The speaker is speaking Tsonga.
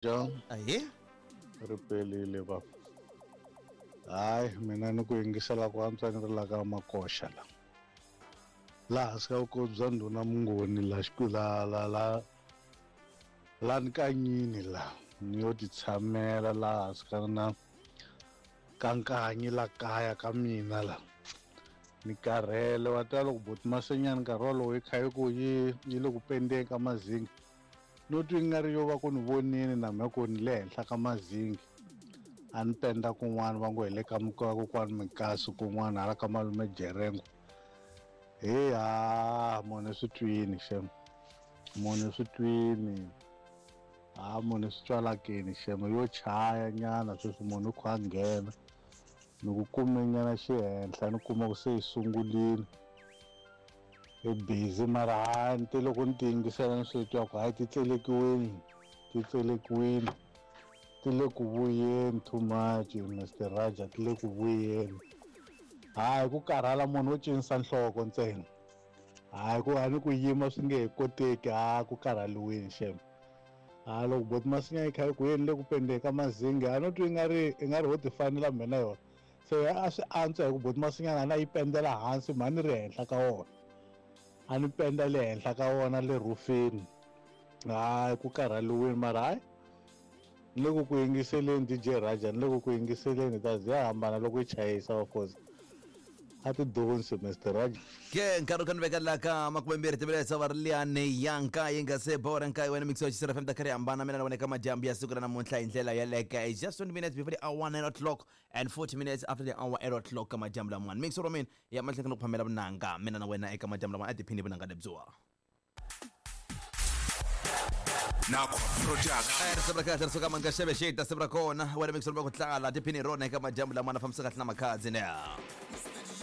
Ja. Ahee. Ri pelile baba. Hayi mina ni ku yingisela ku antswa ni ri la ka Makoxa la. Laha hansi ka vukosi bya ndhuna Mungoni la la la la la Nkanyini la ni yo ti tshamela laha hansi ka na ka Nkanyi la kaya ka mina la. Ni karhele wa tiva loko buti Masenyani nkarhi wolowo yi kha yi ku yi yi le ku pendeni ka mazinga no twa i nga ri yo va ku ni vonini na mhe ku ni le henhla ka mazingi a ni penda kun'wana va ngo hi le ka kokwani Mikasi kun'wana hala ka malume Jerengo he ha munhu swi twini xem munhu swi twini ha munhu swi twalakini xem yo chaya nyana sweswi munhu u kha a nghena ni ku kume nyana xihenhla ni kuma ku se yi sungulile i busy mara ha ni te loko ni ti yingisela ni swi twa ku hayi ti tselekiwini ti tselekiwini ti le ku vuyeni too much Mr Raja ti le ku vuyeni hayi ku karhala munhu wo cinisa nhloko ntsena hayi ku a ni ku yima swi nge he koteki ha ku karhaliweni xem ha loko boti masinya yi kha yi ku yeni le ku pendeni ka mazingi a no twa i nga ri i nga ri ho ti fanela mhe na yona se a swi antswa hi ku boti masinyana a na yi pendela hansi mhani ni ri henhla ka wona a ni penda le henhla ka wona le rhufini hayi ku karhaliwini mara hayi ni le ku ku yingiseleni DJ Raja ni le ku ku yingiseleni ta ya hambana loko yi chayisa of course a ti donsi Mr Raja Ke nkarhi ka ni veka la ka makumembirhi timinetse va ri liyani ya nkaye nga se bora nkaye wena mixo xisira FM ta karhi hambana mina na wena ka madyambu ya siku ra namuntlha hi ndlela yeleke it's just 20 minutes before the hour 9 o'clock and 40 minutes after the hour 8 o'clock ka madyambu lamawani mixo ro mina ya mahlekeni ku phamela vunanga mina na wena eka madyambu lamawani a tiphini vunanga lebyiwa Nakwa Production. Risimu ra kahle ri suka mani ka xeve xi ta simu ra kona wena mixo ro ku tlala tiphini hi rona eka madyambu lamawani fambisa kahle na makhadzi ne.